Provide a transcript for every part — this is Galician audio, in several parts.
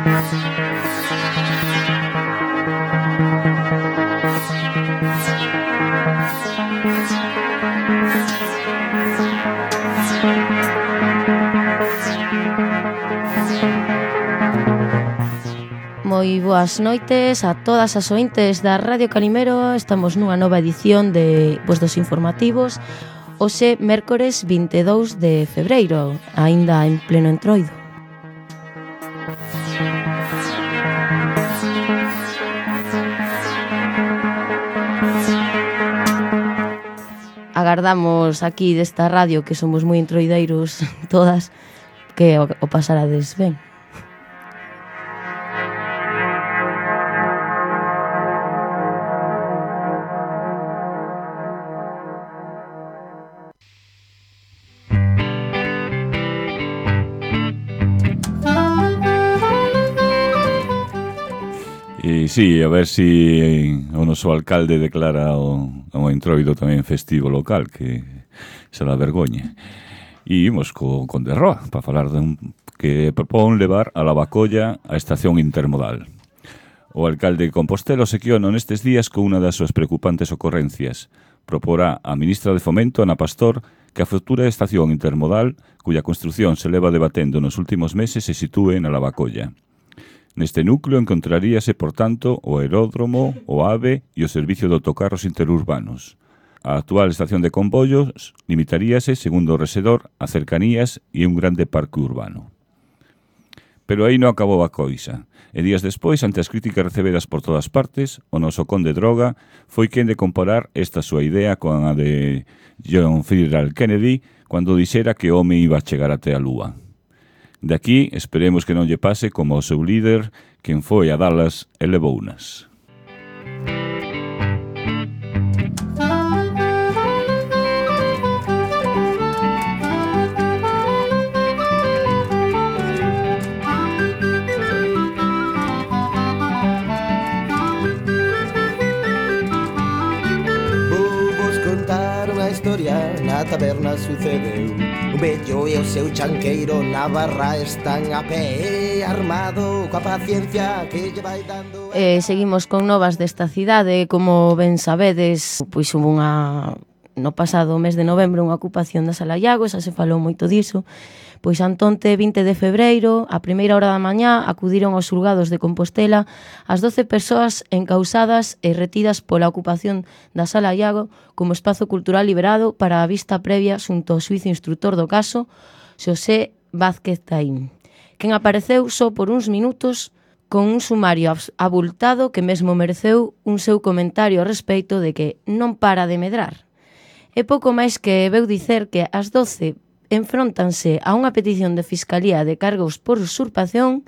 Moi boas noites a todas as ointes da Radio Calimero. Estamos nunha nova edición dos informativos. Hoxe, mércores 22 de febreiro, aínda en pleno entroido. Agardamos aquí desta radio, que somos moi entroideiros todas, que o pasarades ben. Sí, a ver si o noso alcalde declara o entroido tamén festivo local, que será vergoña. E imos con de Roa, para falar que propón levar a Lavacolla a estación intermodal. O alcalde de Compostela sequiona nestes días con unha das súas preocupantes ocorrencias. Proporá a ministra de Fomento, Ana Pastor, que a futura estación intermodal, cuya construción se leva debatendo nos últimos meses, se sitúe na Lavacolla. Neste núcleo encontraríase, por tanto, o aeródromo, o AVE e o servicio de autocarros interurbanos. A actual estación de comboios limitaríase, segundo o resedor, a cercanías e un grande parque urbano. Pero aí non acabou a coisa. E días despois, ante as críticas recebidas por todas partes, o noso conde Droga foi quen de comparar esta súa idea con a de John F. Kennedy cando dixera que o home iba a chegar até a Lúa. De aquí, esperemos que non lle pase como o seu líder, quen foi a Dallas e levounas. Na taberna sucedeu un vello e o seu chanqueiro na barra están a pé armado coa paciencia que lle vai dando. Seguimos con novas desta cidade. Como ben sabedes, pois hubo no pasado mes de novembro unha ocupación da Sala Iago, xa se falou moito diso. Pois antonte 20 de febreiro, a primeira hora da mañá, acudiron aos xulgados de Compostela as 12 persoas encausadas e retidas pola ocupación da Sala Iago como espazo cultural liberado para a vista previa xunto ao xuízo instrutor do caso, Xosé Vázquez Taín, quen apareceu só por uns minutos con un sumario abultado que mesmo mereceu un seu comentario ao respecto de que non para de medrar. É pouco máis que veu dicer que as 12 enfróntanse a unha petición de Fiscalía de cargos por usurpación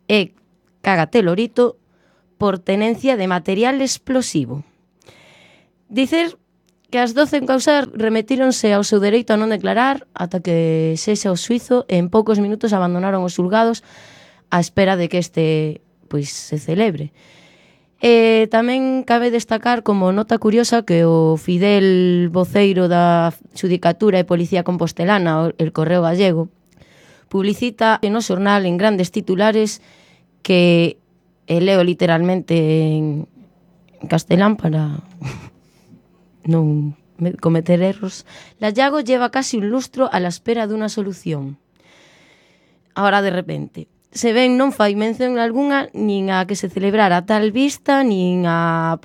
e, cágate lorito, por tenencia de material explosivo. Dicer que as 12 encausadas remitíronse ao seu dereito a non declarar ata que sexa o xuízo e en poucos minutos abandonaron os xulgados á espera de que este se celebre. Tamén cabe destacar como nota curiosa que o fidel voceiro da Xudicatura e Policía Compostelana, el Correo Gallego, publicita no xornal en grandes titulares que leo literalmente en castelán para non cometer erros. Lallago lleva casi un lustro a la espera dunha solución. Ahora de repente se ven non fai mención algunha nin a que se celebrara tal vista, nin a a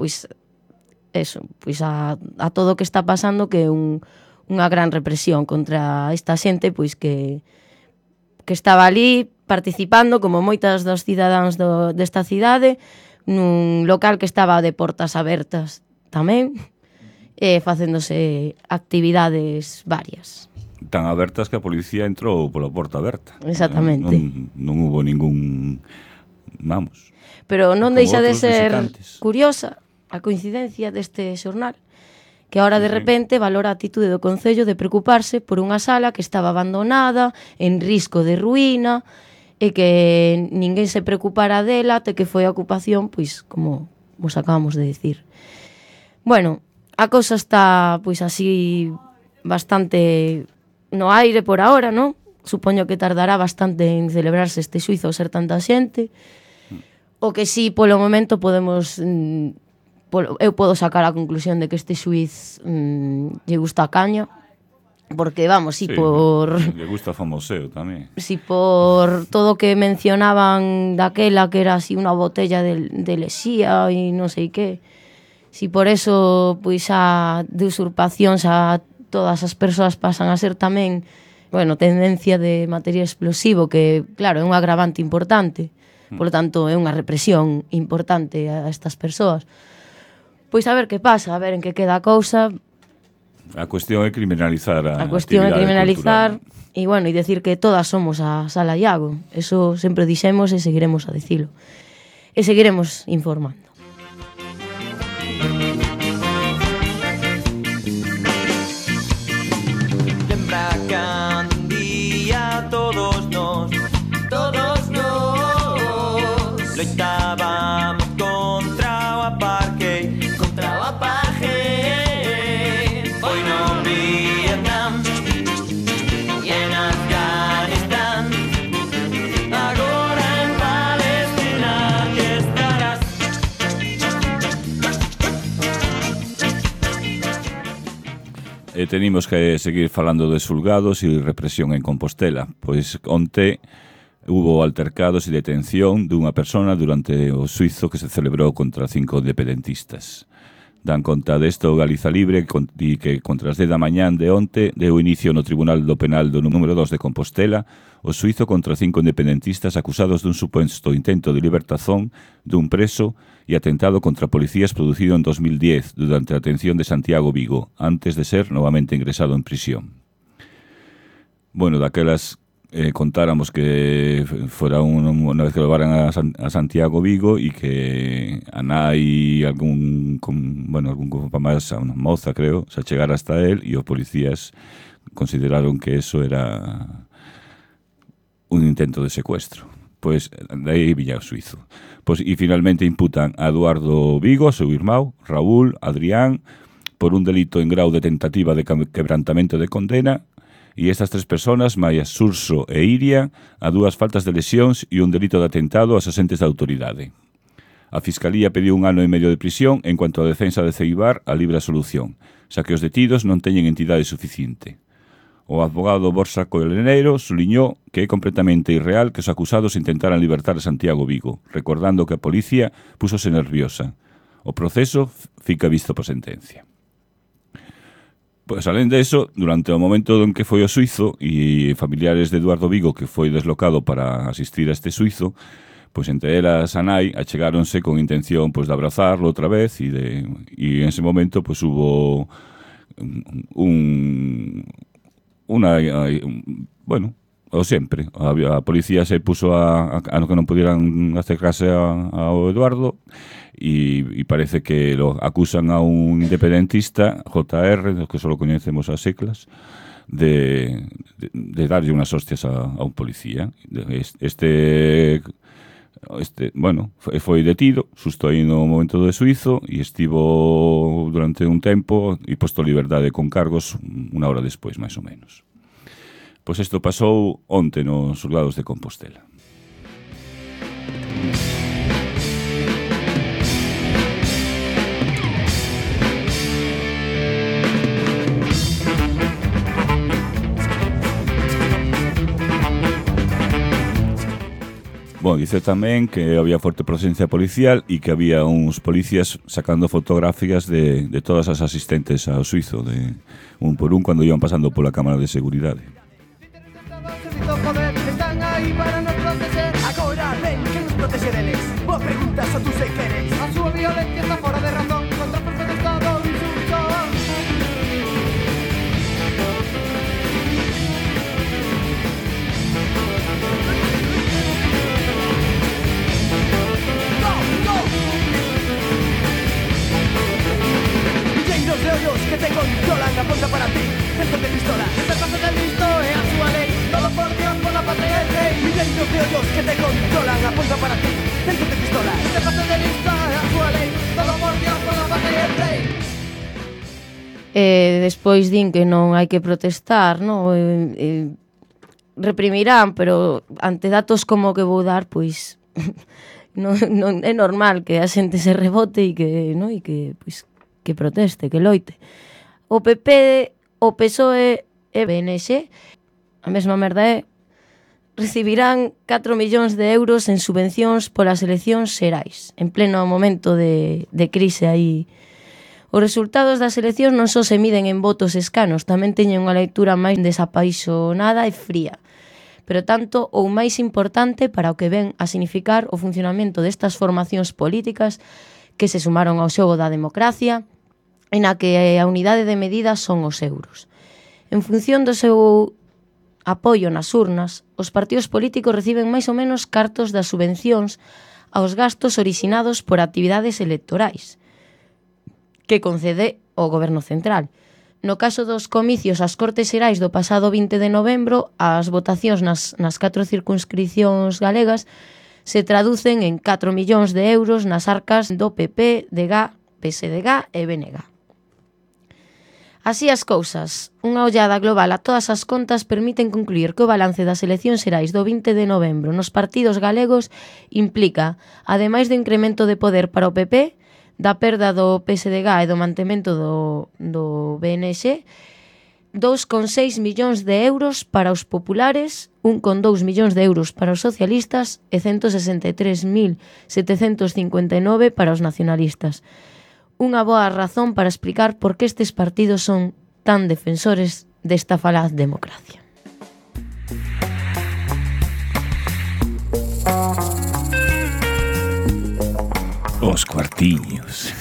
todo o que está pasando, que é unha gran represión contra esta xente que estaba ali participando, como moitas dos cidadáns desta cidade, nun local que estaba de portas abertas tamén, facéndose actividades varias. Tan abertas que a policía entrou pola porta aberta. Exactamente. Non hubo ningún... Vamos. Pero non deixa de ser curiosa a coincidencia deste xornal, que agora de repente valora a atitude do Concello de preocuparse por unha sala que estaba abandonada, en risco de ruína, e que ninguén se preocupara dela até que foi a ocupación, como vos acabamos de decir. Bueno, a cousa está así bastante no aire por ahora, non? supoño que tardará bastante en celebrarse este xuizo ao ser tanta xente. O que sí, polo momento, podemos... eu podo sacar a conclusión de que este xuiz lle gusta a caña, porque, vamos, Sí, por... Le gusta famoseo tamén. Si por todo o que mencionaban daquela, que era así unha botella de lexía e non sei que, si por eso, pois, a de usurpación, xa todas as persoas pasan a ser tamén, bueno, tendencia de material explosivo, que, claro, é un agravante importante, por lo tanto, é unha represión importante a estas persoas. Pois a ver que pasa, a ver en que queda a cousa. A cuestión é criminalizar a cuestión é criminalizar cultural. e, bueno, e decir que todas somos a Sala Iago. Eso sempre dixemos e seguiremos a dicilo. E seguiremos informando. Lembra que un día todos nos loitábamos contra o apartheid, foi no Vietnam e en Afganistán, agora en Palestina que estarás. E tenimos que seguir falando de xulgados e represión en Compostela, pois onte hubo altercados e detención dunha persona durante o xuizo que se celebrou contra 5 independentistas. Dan conta desto o Galiza Libre e que contra as 10 da mañán de onte deu inicio no Tribunal do Penal do número 2 de Compostela o xuizo contra 5 independentistas acusados dun suposto intento de libertazón dun preso e atentado contra policías producido en 2010 durante a detención de Santiago Vigo, antes de ser novamente ingresado en prisión. Bueno, daquelas contáramos que fora unha vez que levaran a Santiago Vigo e que a nai algún grupo máis, a unha moza, creo, se chegara hasta él e os policías consideraron que eso era un intento de secuestro. Pois daí viña o suizo. Pois, e finalmente imputan a Eduardo Vigo, seu irmão, Raúl, Adrián, por un delito en grau de tentativa de quebrantamento de condena. E estas 3 personas, Maia, Surso e Iria, a 2 faltas de lesións e un delito de atentado aos asentes da autoridade. A Fiscalía pediu 1 ano e medio de prisión en cuanto a defensa de Ceibar a libre absolución, xa que os detidos non teñen entidade suficiente. O advogado Borja Coleneiro suliñou que é completamente irreal que os acusados intentaran libertar a Santiago Vigo, recordando que a policía púsose nerviosa. O proceso fica visto por sentencia. Pois, alén de eso, durante o momento en que foi o suizo e familiares de Eduardo Vigo que foi deslocado para asistir a este suizo, pois entre elas a nai achegáronse con intención pois de abrazarlo outra vez e en ese momento pois hubo o sempre, a policía se puso a que non pudieran acercarse ao Eduardo e parece que lo acusan a un independentista, JR, que só coñecemos as siglas, de darlle unhas hostias a un policía. Foi detido, xusto aí no momento do suizo, e estivo durante un tempo e posto a liberdade con cargos 1 hora despois, máis ou menos. Pois isto pasou onte nos xulgados de Compostela. Bom, dice tamén que había forte presencia policial e que había uns policías sacando fotografías de todas as asistentes ao suizo, de un por un, cando iban pasando pola cámara de seguridade. Están aí para nos proteger. Agora ven, que nos protege deles. Vos preguntas o tú se queres. A súa violencia está fora de razón. Contra fuerza do Estado insulto. Milleiros de ollos que te controlan. Apunta para ti, centos de pistolas. Este paso del listo é a súa lei. Todo por Dios, por la patria del rey. Milleiros de ollos que te controlan. Apunta para ti, centos de pistolas. Este paso del listo é a súa lei. Todo por Dios, por la patria del rey. Despois din que non hai que protestar, non? reprimirán, pero ante datos como que vou dar, pois non é normal que a xente se rebote e que, no, e que, pois, que proteste, que loite. O PP, o PSOE e BNX, a mesma merda é, recibirán 4 millóns de euros en subvencións polas eleccións xerais, en pleno momento de crise aí. Os resultados das eleccións non só se miden en votos escanos, tamén teñen unha lectura máis desapaixonada e fría. Pero tanto ou máis importante para o que ven a significar o funcionamento destas formacións políticas que se sumaron ao xogo da democracia, en a que a unidade de medida son os euros. En función do seu apoio nas urnas, os partidos políticos reciben máis ou menos cartos das subvencións aos gastos orixinados por actividades electorais que concede o Goberno Central. No caso dos comicios ás Cortes Xerais do pasado 20 de novembro, as votacións nas 4 circunscripcións galegas se traducen en 4 millóns de euros nas arcas do PP, DG, PSDG e BNG. Así as cousas, unha ollada global a todas as contas permiten concluir que o balance das eleccións xerais do 20 de novembro nos partidos galegos implica, ademais do incremento de poder para o PP, da perda do PSDG e do mantemento do BNX, 2,6 millóns de euros para os populares, 1,2 millóns de euros para os socialistas e 163.759 para os nacionalistas. Unha boa razón para explicar por que estes partidos son tan defensores desta falaz democracia. Os cuartiños.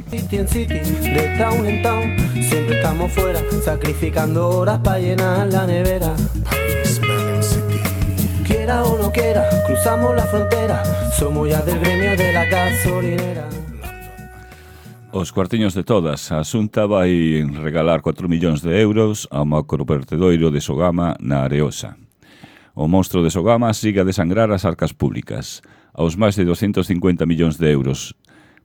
City en city, de town en town, siempre estamos fuera, sacrificando horas para llenar la nevera. Quiera o no quiera, cruzamos la frontera, somos ya del gremio de la gasolinera. Os cuartiños de todas. A Xunta vai regalar 4 millóns de euros ao macrovertedoiro de Sogama na Areosa. O monstro de Sogama sigue a desangrar as arcas públicas. Aos máis de 250 millóns de euros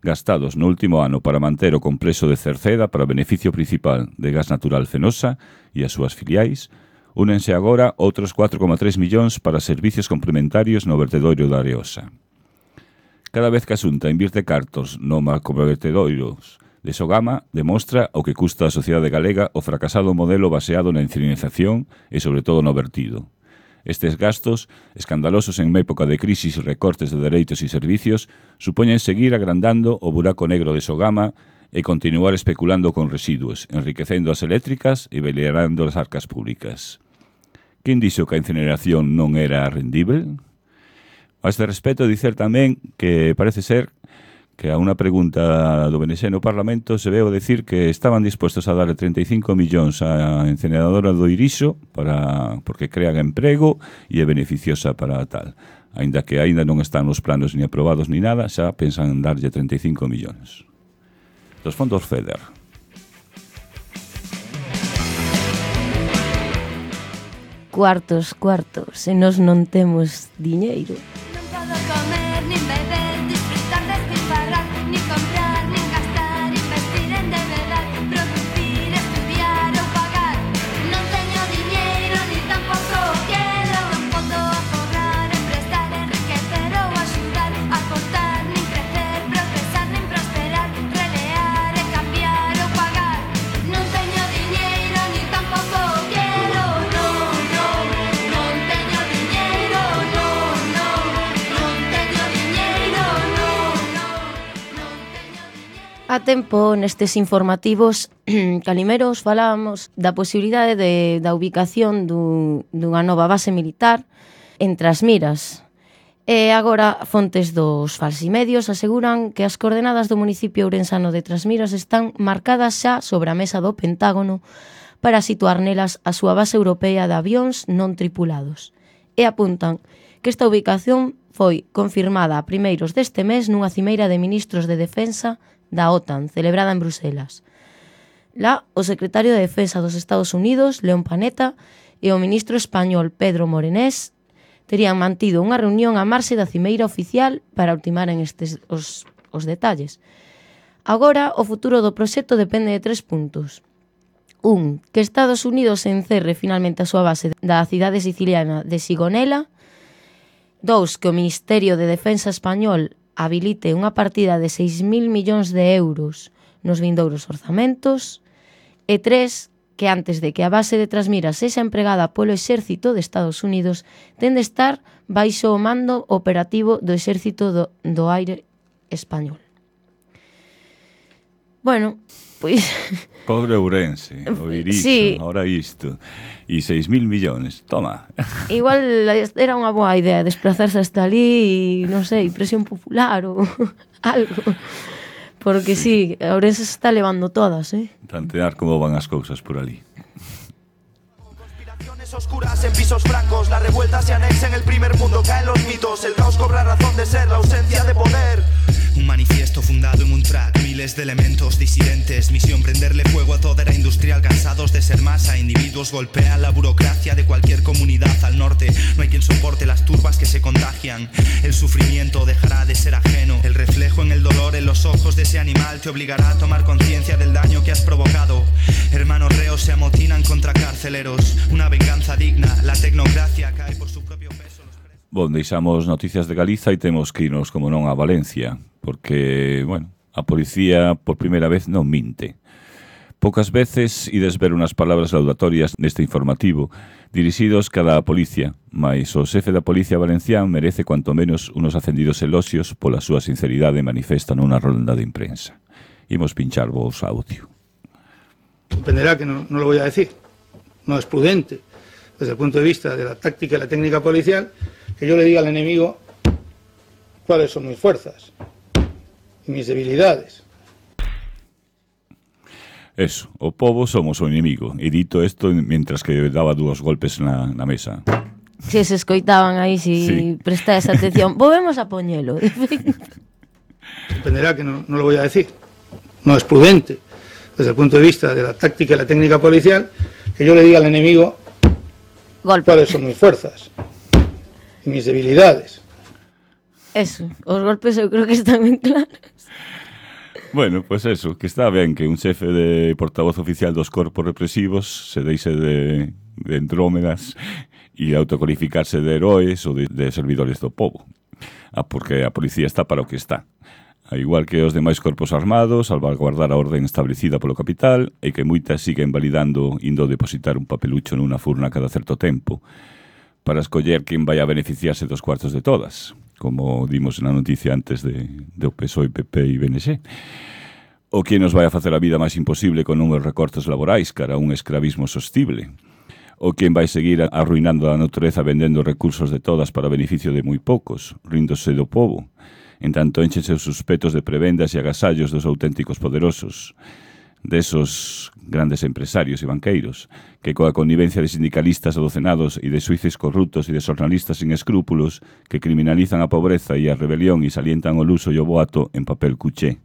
gastados no último ano para manter o complexo de Cerceda para beneficio principal de gas natural Fenosa e as súas filiais, únense agora outros 4,3 millóns para servicios complementarios no vertedoiro da Areosa. Cada vez que a Xunta invierte cartos no macrovertedoiro de Sogama, demostra o que custa a sociedade galega o fracasado modelo baseado na incinerización e sobre todo no vertido. Estes gastos, escandalosos en época de crisis e recortes de dereitos e servicios, supoñen seguir agrandando o buraco negro de Sogama e continuar especulando con residuos, enriquecendo as eléctricas e balearando as arcas públicas. Quen dixo que a incineración non era rendível? A este respecto, dicer tamén que parece ser que a unha pregunta do BNX no Parlamento se veo decir que estaban dispostos a darle 35 millóns á incineradora do Irixo porque crean emprego e é beneficiosa para tal. Aínda que aínda non están nos planos ni aprobados ni nada, xa pensan en darlle 35 millóns. Dos fondos FEDER. Cuartos, se nós non temos diñeiro. Non podo comer, nin beber, disfrutar, despilfarrar, nin comprar, nin gastar, investir en de verdad, producir, estudiar ou pagar. Non teño diñeiro, nin tampouco quero. Non podo aforrar, emprestar, enriquecer ou axudar, aportar, nin crecer, progresar, nin prosperar, relear e cambiar ou pagar. Non teño diñeiro, nin tampouco quero. A tempo, nestes informativos calimeros, falábamos da posibilidade da ubicación dunha nova base militar en Trasmiras. E agora, fontes dos falsimedios aseguran que as coordenadas do municipio ourensano de Trasmiras están marcadas xa sobre a mesa do Pentágono para situar nelas a súa base europea de avións non tripulados. E apuntan que esta ubicación foi confirmada a primeiros deste mes nunha cimeira de ministros de defensa da OTAN, celebrada en Bruselas. Lá, o secretario de Defensa dos Estados Unidos, León Panetta, e o ministro español Pedro Morenés terían mantido unha reunión a marxe da cimeira oficial para ultimaren os detalles. Agora, o futuro do proxecto depende de 3 puntos. Que Estados Unidos encerre finalmente a súa base da cidade siciliana de Sigonella. 2. Que o Ministerio de Defensa español habilite unha partida de 6.000 millóns de euros nos vindouros orzamentos. E 3. Que antes de que a base de Trasmiras sexa empregada polo Exército de Estados Unidos, ten de estar baixo o mando operativo do Exército do Aire español. Bueno, pois... Pobre Ourense, o Iriso, sí. Ahora isto. E 6.000 millóns, toma. Igual era unha boa idea desplazarse hasta ali e, non sei, presión popular ou algo. Porque sí, Ourense se está levando todas, Tantear como van as cousas por ali. Oscuras en pisos francos, la revuelta se anexa en el primer mundo, caen los mitos, el caos cobra razón de ser, la ausencia de poder. Un manifiesto fundado en un track, miles de elementos disidentes, misión prenderle fuego a toda era industrial, cansados de ser masa, individuos golpean la burocracia de cualquier comunidad al norte, no hay quien soporte las turbas que se contagian, el sufrimiento dejará de ser ajeno, el reflejo en el dolor en los ojos de ese animal te obligará a tomar conciencia del daño que has provocado, hermanos reos se amotinan contra carceleros, una venganza digna, la tecnocracia cae por su propio peso. Bon, deixamos noticias de Galiza e temos que irnos, como non, a Valencia, porque, bueno, a policía por primeira vez non minte. Poucas veces ides ver unas palabras laudatorias neste informativo, dirixidos cada a policía, mais o xefe da Policía Valencián merece cuanto menos unos acendidos eloxios pola súa sinceridade manifesta nunha ronda de imprensa. Imos pinchar vos audio. Comprenderá que no lo voy a decir. No es prudente, desde el punto de vista de la táctica y la técnica policial, que yo le diga al enemigo cuáles son mis fuerzas y mis debilidades. Eso, o pobo somos o inimigo. E dito isto mientras que daba 2 golpes na mesa. Se escoitaban aí, si prestáis atención. Volvemos a poñelo. Comprenderá que no lo voy a decir. No es prudente, desde el punto de vista de la táctica y la técnica policial, que yo le diga al enemigo cuáles son mis fuerzas y mis debilidades. Eso, os golpes eu creo que están ben claros. Bueno, pues eso, que está ben que un xefe de portavoz oficial dos corpos represivos se deixe de Andrómedas e autocualificarse de heróis ou de servidores do povo. Porque a policía está para o que está. A igual que os demais corpos armados, salvaguardar a orden establecida polo capital e que moitas siguen validando indo depositar un papelucho nunha furna cada certo tempo para escoller quen vai a beneficiarse dos cuartos de todas, como dimos na noticia antes de PSOE, PP e BNG. O quen nos vai a facer a vida máis imposible con unhos recortes laborais cara a un escravismo sostible. O quen vai seguir arruinando a natureza vendendo recursos de todas para beneficio de moi poucos, ríndose do povo. En tanto enchese os suspectos de prebendas e agasallos dos auténticos poderosos, desos grandes empresarios e banqueiros, que coa connivencia de sindicalistas adocenados e de xuíces corruptos e de xornalistas sin escrúpulos que criminalizan a pobreza e a rebelión e salientan o luso e o boato en papel cuché.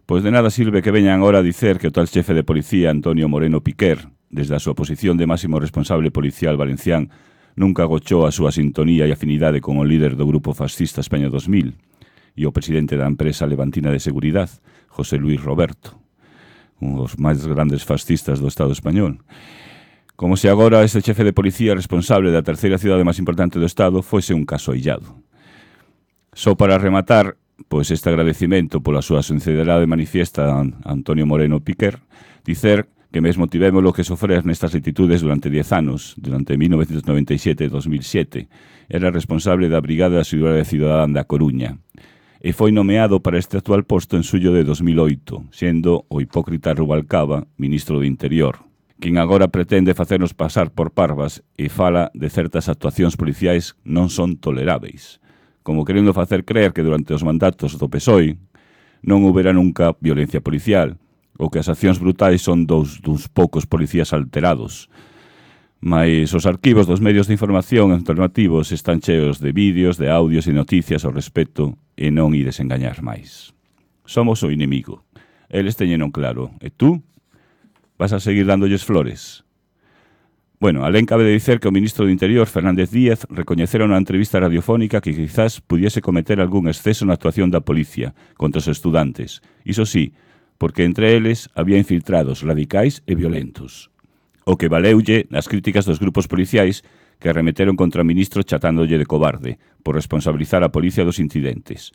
Pois de nada sirve que veñan agora a dicer que o tal xefe de policía Antonio Moreno Piquer, desde a súa posición de máximo responsable policial valencián, nunca agochou a súa sintonía e afinidade con o líder do grupo fascista España 2000 e o presidente da empresa levantina de seguridad, José Luis Roberto, un dos máis grandes fascistas do Estado español. Como se agora este xefe de policía responsable da terceira cidade máis importante do Estado fose un caso illado. Só para rematar, pois este agradecimento pola súa sinceridade manifiesta a Antonio Moreno Piquer, dicer que mesmo tivémolo que sofrer nestas latitudes durante 10 anos, durante 1997 e 2007, era responsable da Brigada de Seguridade Cidadán da Coruña, e foi nomeado para este actual posto en xullo de 2008, sendo o hipócrita Rubalcaba ministro de Interior, quen agora pretende facernos pasar por parvas e fala de certas actuacións policiais non son toleráveis, como querendo facer creer que durante os mandatos do PSOE non houbera nunca violencia policial, ou que as accións brutais son duns poucos policías alterados. Mais os arquivos dos medios de información alternativos están cheos de vídeos, de audios e noticias ao respecto e non ides engañar máis. Somos o inimigo. Eles teñeron claro. E tú? Vas a seguir dándolles flores? Bueno, alén cabe de dicer que o ministro do Interior, Fernández Díaz, recoñecera na entrevista radiofónica que quizás pudiese cometer algún exceso na actuación da policía contra os estudantes. Iso sí, porque entre eles había infiltrados radicais e violentos. O que valeulle nas críticas dos grupos policiais que arremeteron contra o ministro chatándolle de cobarde por responsabilizar a policía dos incidentes.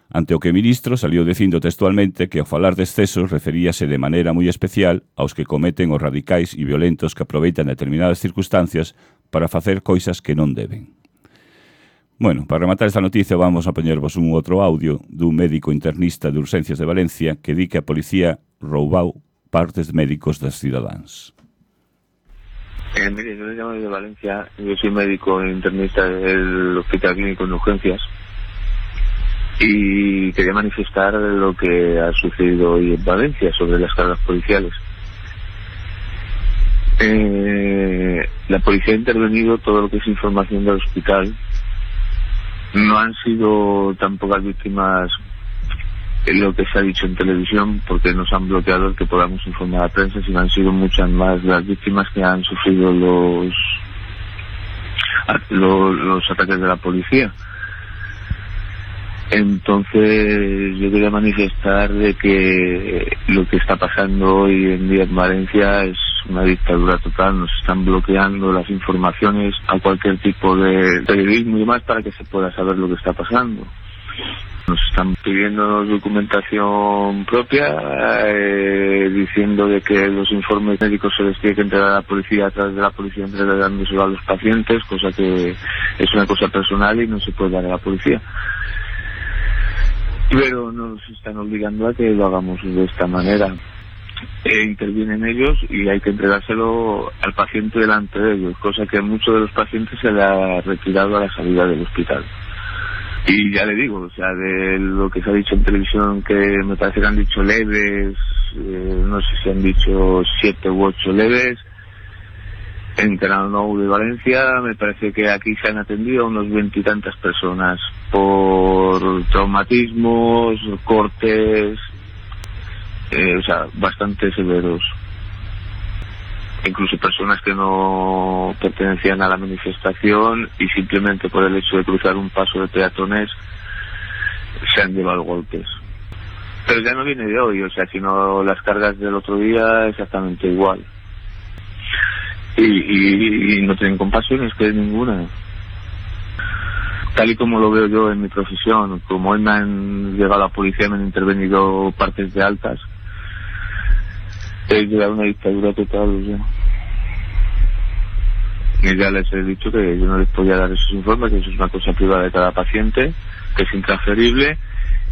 Ante o que o ministro saliu dicindo textualmente que ao falar de excesos referíase de maneira moi especial aos que cometen os radicais e violentos que aproveitan determinadas circunstancias para facer cousas que non deben. Bueno, para rematar esta noticia vamos a poñervos un outro audio dun médico internista de urxencias de Valencia que di que a policía roubou partes médicos das cidadáns. Mire, yo le llamo de Valencia, yo soy médico internista del Hospital Clínico de Urgencias y quería manifestar lo que ha sucedido hoy en Valencia sobre las cargas policiales. La policía ha intervenido todo lo que es información del hospital. No han sido tan pocas víctimas en lo que se ha dicho en televisión, porque nos han bloqueado el que podamos informar a la prensa, sino han sido muchas más las víctimas que han sufrido los ataques de la policía. Entonces yo quería manifestar de que lo que está pasando hoy en día en Valencia es una dictadura total. Nos están bloqueando las informaciones a cualquier tipo de periodismo y demás para que se pueda saber lo que está pasando. Nos están pidiendo documentación propia, diciendo de que los informes médicos se les tiene que entregar a la policía, a través de la policía entregándoselo a los pacientes, cosa que es una cosa personal y no se puede dar a la policía. Pero nos están obligando a que lo hagamos de esta manera. Intervienen ellos y hay que entregárselo al paciente delante de ellos, cosa que a muchos de los pacientes se le ha retirado a la salida del hospital. Y ya le digo, o sea, de lo que se ha dicho en televisión, que me parece que han dicho leves, no sé si han dicho 7 u 8 leves, en Canal Nou de Valencia me parece que aquí se han atendido a unos 20 y tantas personas por traumatismos, cortes, o sea, bastante severos. Incluso personas que no pertenecían a la manifestación y simplemente por el hecho de cruzar un paso de peatones se han llevado golpes. Pero ya no viene de hoy, o sea, sino las cargas del otro día exactamente igual. Y no tienen compasión, es que ninguna. Tal y como lo veo yo en mi profesión, como hoy me han llegado a la policía, me han intervenido partes de altas, es llegar a una dictadura total, o sea. Y ya les he dicho que yo no les podía dar esos informes, que eso es una cosa privada de cada paciente, que es intransferible,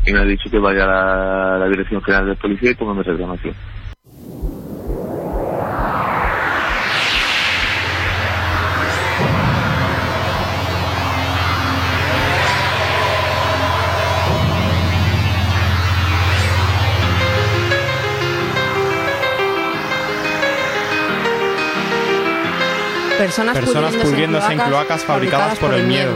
y me ha dicho que vaya a la Dirección General de Policía y póngame reclamación. Personas pudriéndose en cloacas fabricadas por el miedo.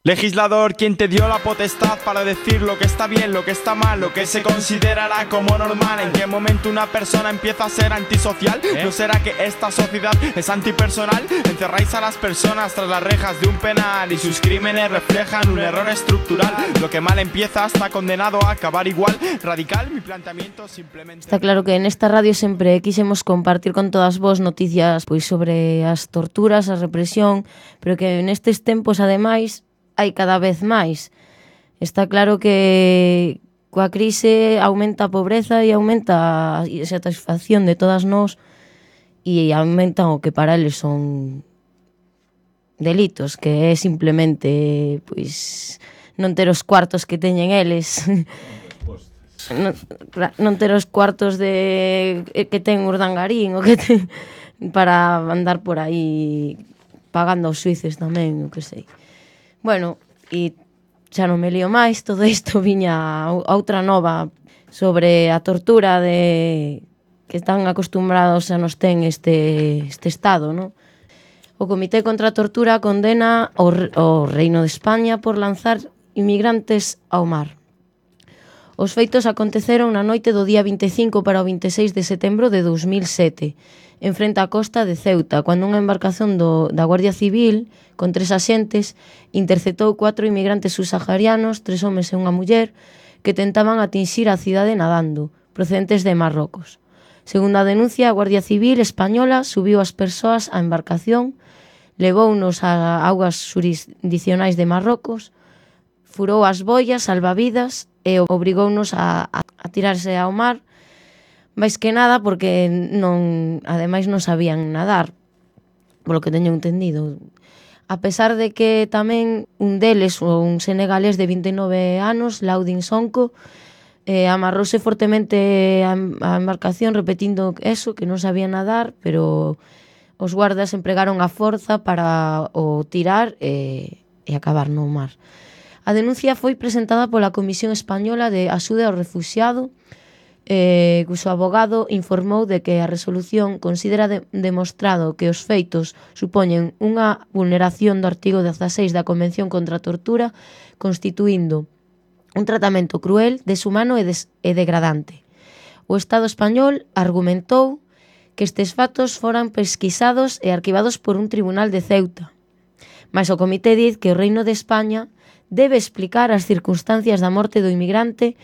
Legislador, ¿quién te dio la potestad para decir lo que está bien, lo que está mal, lo que se considerará como normal? ¿En qué momento una persona empieza a ser antisocial? ¿No será que esta sociedad es antipersonal? Encerráis a las personas tras las rejas de un penal y sus crímenes reflejan un error estructural. Lo que mal empieza está condenado a acabar igual. Radical, mi planteamiento simplemente... Está claro que en esta radio sempre quixemos compartir con todas vos noticias pois sobre as torturas, a represión, pero que nestes tempos, ademais, hai cada vez máis. Está claro que coa crise aumenta a pobreza e aumenta a satisfacción de todas nós e aumentan o que para eles son delitos, que é simplemente pois non ter os cuartos que teñen eles. non ter os cuartos de que ten Urdangarín o que ten, para andar por aí pagando aos suíces tamén, o que sei. Bueno, e xa non me lío máis, todo isto viña a outra nova sobre a tortura de que están acostumbrados a nos ten este estado, non? O Comité contra a Tortura condena o Reino de España por lanzar inmigrantes ao mar. Os feitos aconteceron na noite do día 25 para o 26 de setembro de 2007 en frente á costa de Ceuta, cando unha embarcación da Guardia Civil, con 3 axentes, interceptou 4 inmigrantes subsaharianos, 3 homes e unha muller, que tentaban atinxir a cidade nadando, procedentes de Marrocos. Segundo a denuncia, a Guardia Civil española subiu as persoas á embarcación, levounos a augas jurisdicionais de Marrocos, furou as boias salvavidas e obrigounos a tirarse ao mar, máis que nada porque ademais non sabían nadar, polo que teño entendido. A pesar de que tamén un deles, un senegalés de 29 anos, Laudin Sonko, amarrouse fortemente a embarcación repetindo eso, que non sabía nadar, pero os guardas empregaron a forza para o tirar e acabar no mar. A denuncia foi presentada pola Comisión Española de Axuda ao Refuxiado, cuxo abogado informou de que a resolución considera demostrado que os feitos supoñen unha vulneración do artigo 16 da Convención contra a Tortura, constituindo un tratamento cruel, deshumano e degradante. O Estado español argumentou que estes fatos foran pesquisados e arquivados por un tribunal de Ceuta. Mas o comité diz que o Reino de España debe explicar as circunstancias da morte do inmigrante,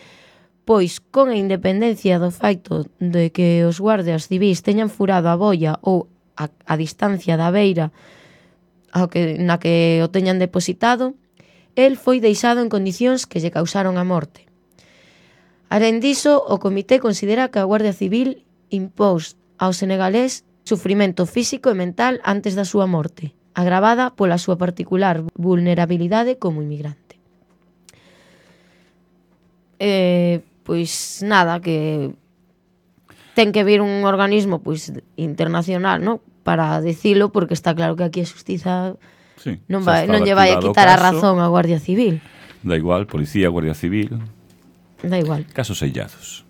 pois, con a independencia do feito de que os guardias civis teñan furado a boia ou a distancia da beira na que o teñan depositado, el foi deixado en condicións que lle causaron a morte. Alén diso, o comité considera que a Guardia Civil impós ao senegalés sufrimento físico e mental antes da súa morte, agravada pola súa particular vulnerabilidade como inmigrante. Pois nada, que ten que vir un organismo pois internacional, ¿no?, para dicilo, porque está claro que aquí a xustiza non lle vai a quitar a razón á Guardia Civil. Da igual, policía, Guardia Civil. Da igual. Casos sellados.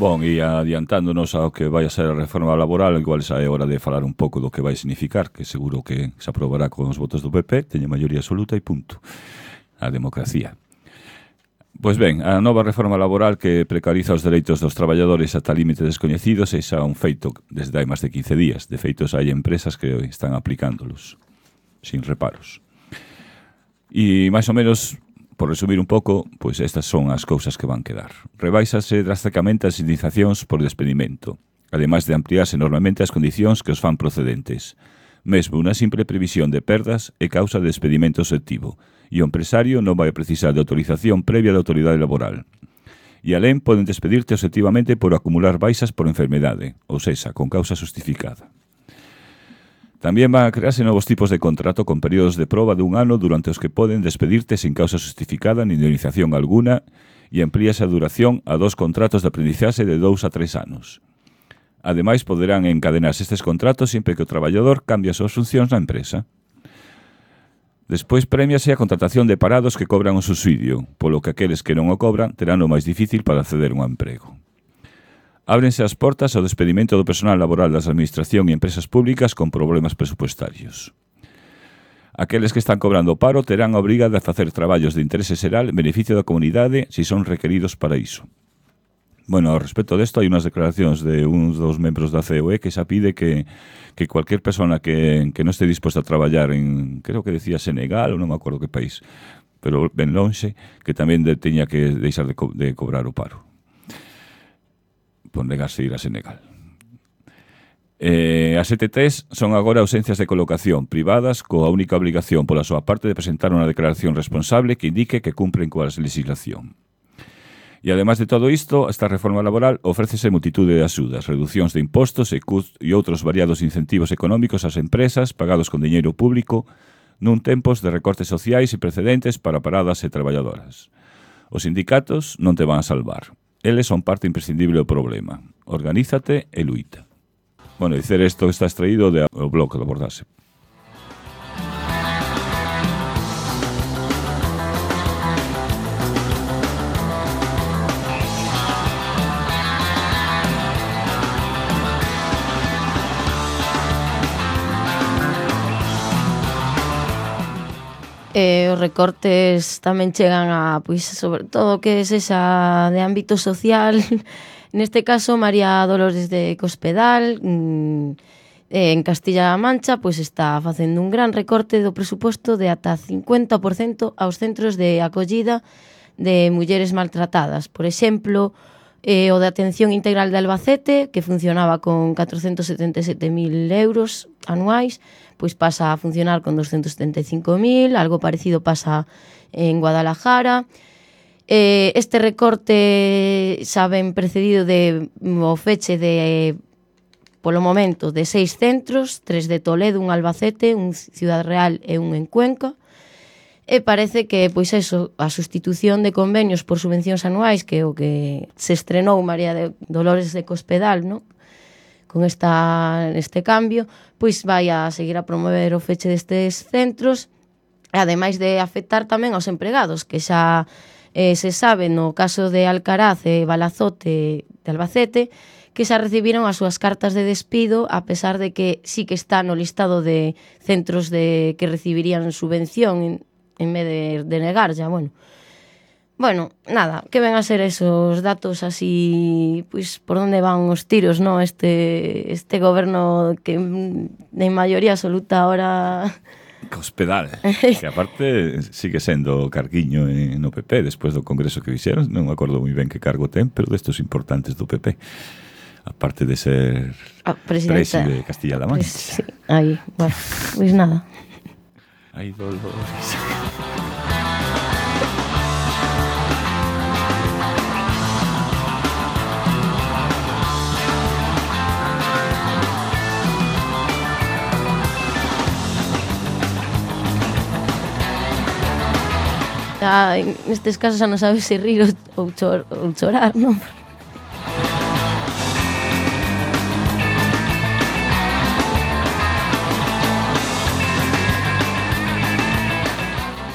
Bon, e adiantándonos ao que vai a ser a reforma laboral, igual xa é hora de falar un pouco do que vai significar, que seguro que se aprobará con os votos do PP, teñe maioría absoluta e punto. A democracia. Pois ben, a nova reforma laboral que precariza os dereitos dos traballadores ata límite descoñecidos é xa un feito desde hai máis de 15 días. De feitos, hai empresas que están aplicándolos sin reparos. E máis ou menos, por resumir un pouco, pois estas son as cousas que van quedar. Rebaixase drásticamente as indemnizacións por despedimento, ademais de ampliarse enormemente as condicións que os fan procedentes. Mesmo unha simple previsión de perdas é causa de despedimento selectivo, e o empresario non vai precisar de autorización previa da autoridade laboral. E alén poden despedirte obxectivamente por acumular baixas por enfermedade, ou sexa, con causa justificada. Tamén van a crearse novos tipos de contrato con períodos de proba de 1 ano durante os que poden despedirte sin causa justificada ni indemnización alguna e amplíase a duración a 2 contratos de aprendizaxe de 2 a 3 anos. Ademais, poderán encadenarse estes contratos sempre que o traballador cambie as súas funcións na empresa. Despois premiase a contratación de parados que cobran o subsidio, polo que aqueles que non o cobran terán o máis difícil para acceder a un emprego. Ábrense as portas ao despedimento do personal laboral das administración e empresas públicas con problemas presupuestarios. Aqueles que están cobrando paro terán a obriga de facer traballos de interese xeral en beneficio da comunidade se son requeridos para iso. Bueno, ao respecto desto, hai unhas declaracións de uns dos membros da COE que xa pide que cualquier persona que non este disposta a traballar en, creo que decía Senegal, ou non me acordo que país, pero ben lonxe, que tamén teña que deixar de cobrar o paro por negarse ir a Senegal. As ETTs son agora ausencias de colocación privadas coa única obrigación pola súa parte de presentar unha declaración responsable que indique que cumpren coa legislación. E ademais de todo isto, esta reforma laboral ofrécese multitude de axudas, reduccións de impostos e outros variados incentivos económicos ás empresas pagados con diñeiro público nun tempos de recortes sociais e precedentes para paradas e traballadoras. Os sindicatos non te van a salvar. Eles son parte imprescindible do problema. Organízate e luita. Bueno, dicer isto está extraído do blog do Abordaxe. Os recortes tamén chegan a, pois, sobre todo que es esa de ámbito social. Neste caso, María Dolores de Cospedal, en Castilla-La Mancha, pois está facendo un gran recorte do presuposto de ata 50% aos centros de acollida de mulleres maltratadas. Por exemplo, o de Atención Integral de Albacete, que funcionaba con 477.000 euros anuais, pois pasa a funcionar con 275.000, algo parecido pasa en Guadalajara. Este recorte xa ven precedido de o feche de, polo momento, de 6 centros, 3 de Toledo, un Albacete, un Ciudad Real e un en Cuenca. E parece que, pois eso, a sustitución de convenios por subvencións anuais, que é o que se estrenou María de Dolores de Cospedal, ¿no?, con este cambio, pois vai a seguir a promover o feche destes centros, ademais de afectar tamén aos empregados, que xa se sabe no caso de Alcaraz e Balazote de Albacete, que xa recibiron as súas cartas de despido, a pesar de que sí que está no listado de centros que recibirían subvención en vez de negar ya, Bueno, nada, que ven a ser esos datos así, pois, por onde van os tiros, ¿no? Este goberno que en maioría absoluta ahora... Cospedal, que aparte sigue sendo carguiño no PP despois do congreso que fixeron, non me acordo moi ben que cargo ten, pero destos importantes do PP, aparte de ser presi de Castilla-La Mancha. Sí, aí, bueno, pois nada. Ai, Dolores. Nestes casos xa non sabes se rir ou chorar, non?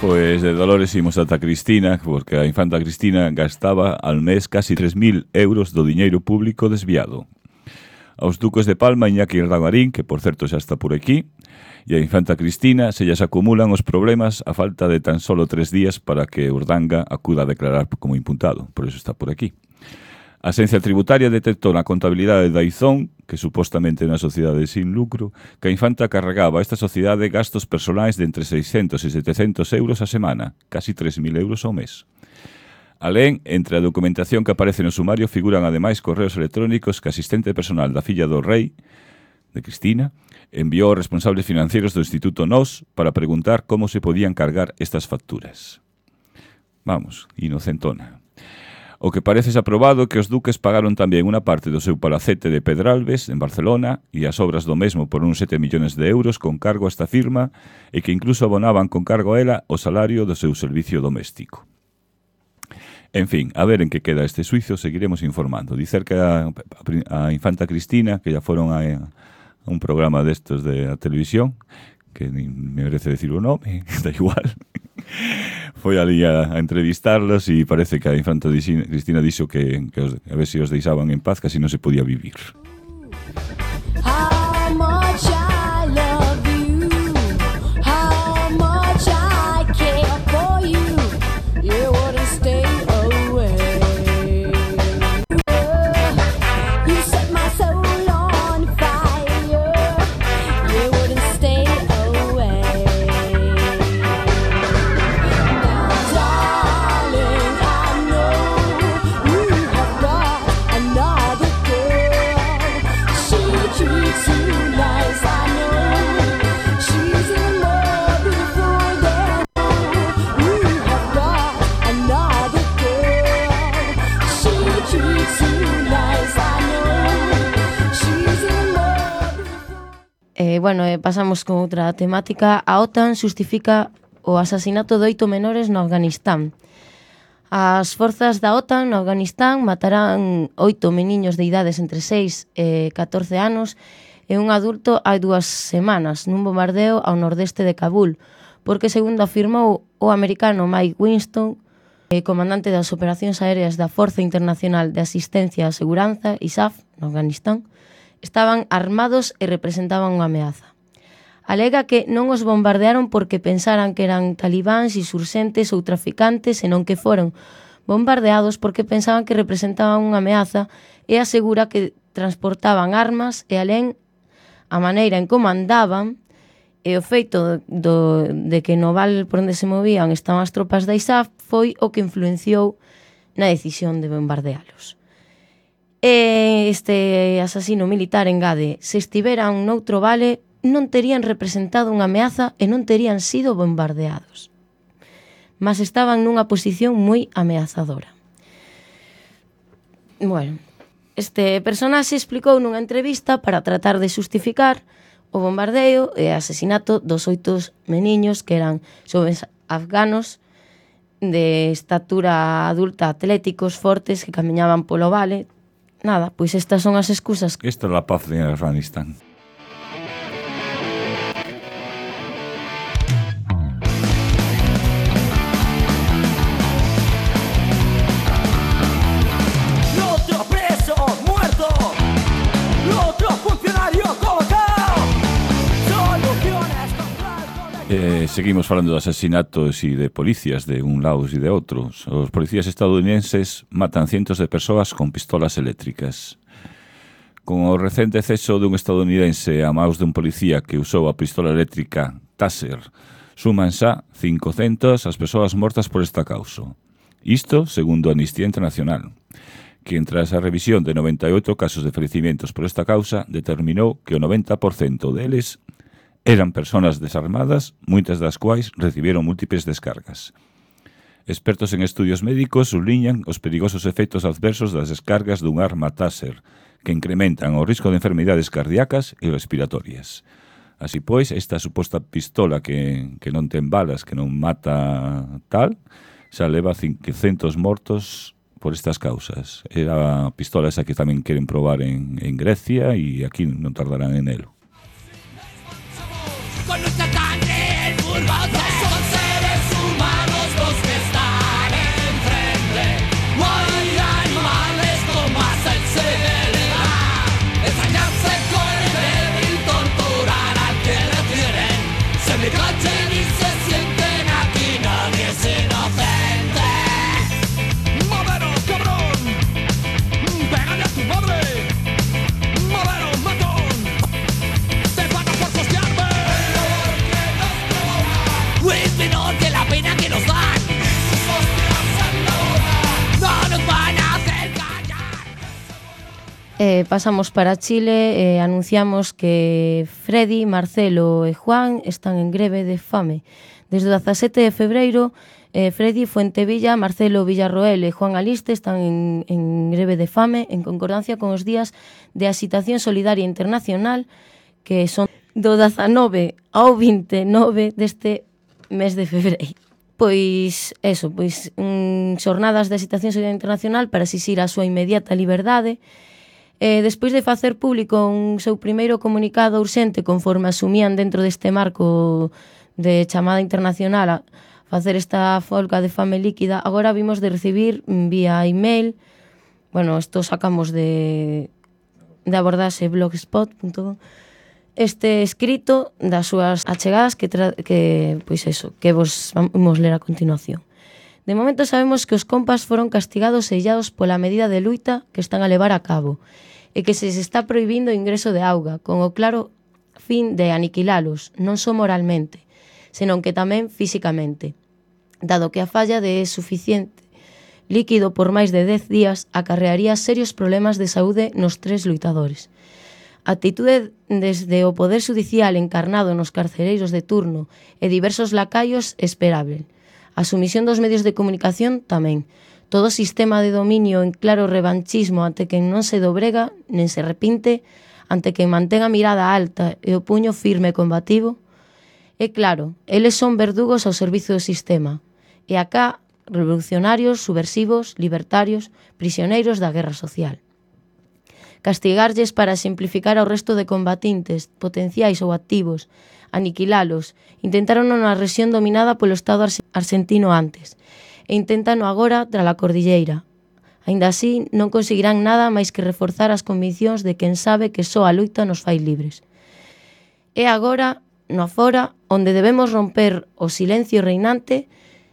Pois de Dolores imos ata Cristina, porque a infanta Cristina gastaba al mes casi 3.000 euros do diñeiro público desviado. Aos duques de Palma, Iñaki Ramarín, que por certo xa está por aquí, e a infanta Cristina se lles acumulan os problemas a falta de tan solo 3 días para que Urdanga acuda a declarar como imputado, por eso está por aquí. A Axencia Tributaria detectou na contabilidade da Izón, que supostamente é unha sociedade sin lucro, que a infanta carregaba a esta sociedade gastos personais de entre 600 e 700 euros a semana, casi 3.000 euros ao mes. Alén, entre a documentación que aparece no sumario figuran ademais correos electrónicos que a asistente personal da filla do rei, de Cristina, enviou aos responsables financeiros do Instituto NOS para preguntar como se podían cargar estas facturas. Vamos, inocentona. O que parece aprobado que os duques pagaron tamén unha parte do seu palacete de Pedralbes, en Barcelona, e as obras do mesmo por uns 7 millóns de euros con cargo a esta firma e que incluso abonaban con cargo a ela o salario do seu servicio doméstico. En fin, a ver en que queda este suizo, seguiremos informando. Dicer que a infanta Cristina, que ya foron a un programa destos de a televisión, que me merece decir o nome, da igual, foi ali a entrevistarlos e parece que a infanta Cristina dixo que a ver se os deixaban en paz, que así non se podía vivir. Pasamos con outra temática. A OTAN xustifica o asasinato de 8 menores no Afganistán. As forzas da OTAN no Afganistán matarán 8 meniños de idades entre 6 e 14 anos e un adulto hai 2 semanas nun bombardeo ao nordeste de Kabul, porque, segundo afirmou o americano Mike Winston, comandante das operacións aéreas da Forza Internacional de Asistencia a Seguranza, ISAF, no Afganistán, estaban armados e representaban unha ameaza. Alega que non os bombardearon porque pensaran que eran talibáns, insurxentes ou traficantes, senón que foron bombardeados porque pensaban que representaban unha ameaza, e asegura que transportaban armas e alén a maneira en como andaban e o feito de que no val por onde se movían estaban as tropas da ISAF foi o que influenciou na decisión de bombardealos. E este asasino militar engade: se estiveran noutro vale non terían representado unha ameaza e non terían sido bombardeados, mas estaban nunha posición moi ameazadora. Bueno, este personaxe explicou nunha entrevista para tratar de xustificar o bombardeo e asesinato dos 8 meniños que eran xoves afganos de estatura adulta, atléticos, fortes, que camiñaban polo vale. Nada, pois estas son as excusas. Esta é a paz de Afganistán. Seguimos falando de asesinatos e de policías de un lado e de outros. Os policías estadounidenses matan cientos de persoas con pistolas eléctricas. Con o recente ceso dun estadounidense a maus de un policía que usou a pistola eléctrica Taser, suman xa 500 as persoas mortas por esta causa. Isto, segundo Amnistía Internacional, que tras a revisión de 98 casos de fallecimientos por esta causa, determinou que o 90% deles eran persoas desarmadas, moitas das quais recibiron múltiples descargas. Expertos en estudios médicos subliñan os perigosos efectos adversos das descargas dun arma Taser, que incrementan o risco de enfermidades cardíacas e respiratorias. Así pois, esta suposta pistola que non ten balas, que non mata tal, xa leva 500 mortos por estas causas. Era a pistola esa que tamén queren probar en Grecia e aquí non tardarán en elo. Con nuestra sangre el furbo son seres humanos los que están enfrente. No hay animales con más sensibilidad. Ensañarse con el débil, torturar al que le tienen. Se me cachen y se sienten aquí, nadie es inocente. Madero, cabrón, pégale a tu madre. Madero, matón, te paga por costearme. Es menor que la pena que nos dan. No nos van a hacer callar. Pasamos para Chile e anunciamos que Freddy, Marcelo e Juan están en greve de fame. Desde o 17 de febreiro, Freddy Fuentevilla, Marcelo Villarroel e Juan Aliste están en greve de fame en concordancia con os días de Axitación Solidaria Internacional, que son do 19 ao 29 deste mes de febreiro. Pois, xornadas de Axitación Solidaria Internacional para exixir a súa inmediata liberdade. Despois de facer público un seu primeiro comunicado urxente conforme asumían dentro deste marco de chamada internacional a facer esta folga de fame líquida, agora vimos de recibir vía email, bueno, isto sacamos de abordaxe blogspot.com, este escrito das súas achegadas que vos vamos ler a continuación. De momento sabemos que os compas foron castigados e illados pola medida de luita que están a levar a cabo e que se está prohibindo o ingreso de auga con o claro fin de aniquilalos, non só moralmente, senón que tamén físicamente, dado que a falla de suficiente líquido por máis de 10 días acarrearía serios problemas de saúde nos 3 luitadores. A actitude desde o Poder Judicial encarnado nos carcereiros de turno e diversos lacaios esperable. A sumisión dos medios de comunicación tamén. Todo sistema de dominio en claro revanchismo ante quen non se dobrega nen se arrepinte, ante quen mantén a mirada alta e o puño firme e combativo. E claro, eles son verdugos ao servizo do sistema. E acá, revolucionarios, subversivos, libertarios, prisioneiros da guerra social. castigarlles para simplificar ao resto de combatintes, potenciais ou activos, aniquilalos. Intentaron na rexión dominada polo Estado argentino antes, e intentano agora tras a cordilleira. Aínda así, non conseguirán nada máis que reforzar as conviccións de quen sabe que só a loita nos fai libres. É agora, no afora, onde debemos romper o silencio reinante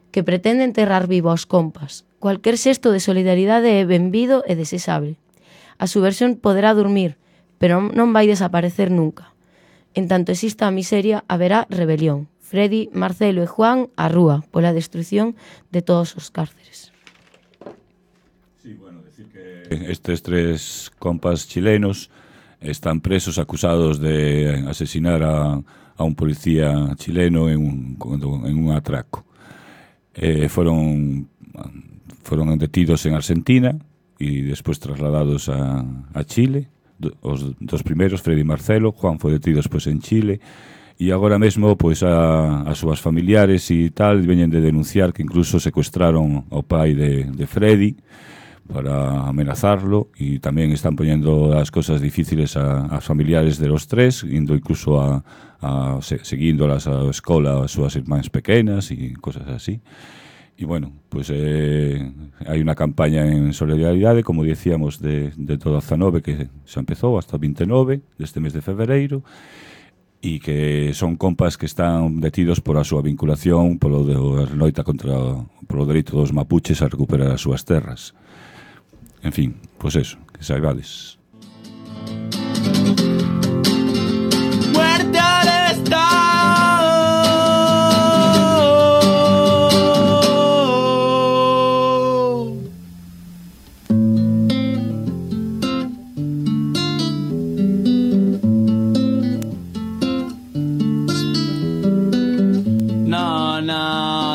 que pretende enterrar vivo aos compas. Cualquier xesto de solidaridade é benvido e desexable. A subversión poderá dormir, pero non vai desaparecer nunca. En tanto exista a miseria, haberá rebelión. Freddy, Marcelo e Juan, a rúa, pola destrucción de todos os cárceres. Sí, bueno, decir que estes 3 compas chilenos están presos acusados de asesinar a un policía chileno en un atraco. Fueron detidos en Argentina y después trasladados a Chile. Os dos primeros, Freddy y Marcelo. Juan foi detido despois en Chile. E agora mesmo, pois, a súas familiares e tal veñen de denunciar que incluso secuestraron ao pai de Freddy para amenazarlo, e tamén están poñendo as cosas difíciles a familiares de los 3, indo incluso seguíndolas á escola as súas irmáns pequenas e cosas así. E bueno, pues hai unha campaña en solidaridade, como dicíamos, de todo 19 que xa empezou hasta o 29 deste mes de febreiro, e que son compas que están detidos por a súa vinculación polo de loita polo dereito dos mapuches a recuperar as súas terras. En fin, pues eso, que saibades. Muerte al Estado.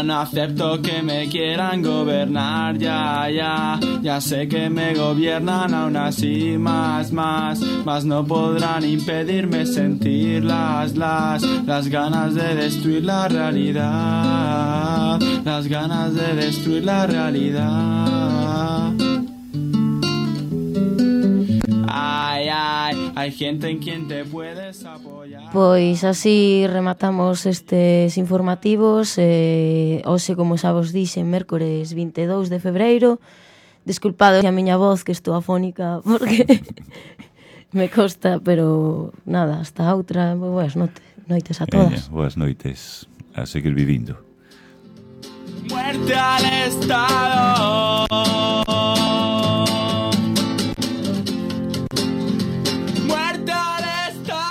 No acepto que me quieran gobernar, ya sé que me gobiernan aún así, más no podrán impedirme sentir las ganas de destruir la realidad, las ganas de destruir la realidad. Hay gente en quien te puedes apoyar. Pois así rematamos estes informativos. Hoxe, como xa vos dixen, mércores 22 de febreiro. Desculpado a miña voz, que estou afónica, porque me costa, pero nada, hasta outra. Boas noites a todas. Boas noites, a seguir vivindo. Muerte al Estado. Muerte al Estado.